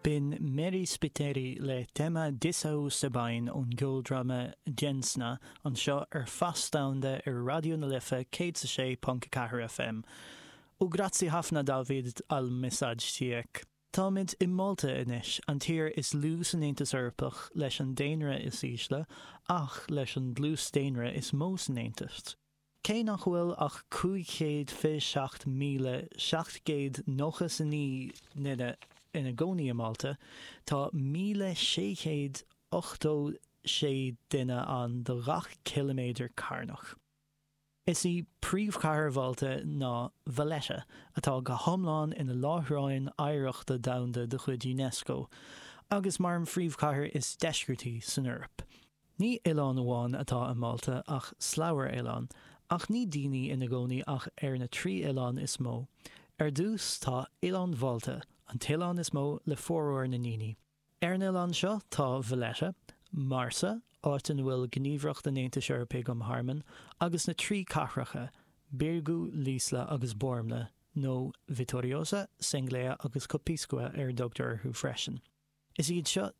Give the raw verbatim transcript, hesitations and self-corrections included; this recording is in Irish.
B'in Mary Spiteri le téama disgħa u sebgħin ón gceoldráma Ġensna anseo ar Fás Domhanda ar Raidió na Life céad a sé ponc ceathair FM. U grazzi ħafna David għal messaġġ tiegħek. Táimid i Málta anois, an tír is lú san Aontas Eorpach leis an daonra is ísle ach leis an dlús daonra is mó san Aontas. Cé nach bhfuil ach cúig chéad fiche seacht míle seacht gcéad nócha is a naoi nduine ina gcónaí i Málta, tá míle sé chéad ochtó sé duine ann do gach ciliméadar carnach. Is í príomhchathair Mhálta ná Valletta, atá go hiomlán ina láithreán oidhreachta domhanda de chuid UNESCO, agus mar an phríomhchathair is deisceartaí san Eoraip. Ní oileán amháin atá i Málta ach slabhra oileán, ach ní daoine ina gcónaí ach ar na trí oileán is mó. Ar dtús tá Oileán Mhálta, an t-oileán is mó le formhór na ndaoine. Ar an oileán seo tá Valletta, Marsa, áit ina bhfuil Gníomhaireacht an Aontais Eorpaigh um Thearmann, agus na trí cathracha, Birgu, L'Isla agus Bormla, nó Vittoriosa, Senglea agus Copiscua ar a dtugtar orthu freisin. Is iad seo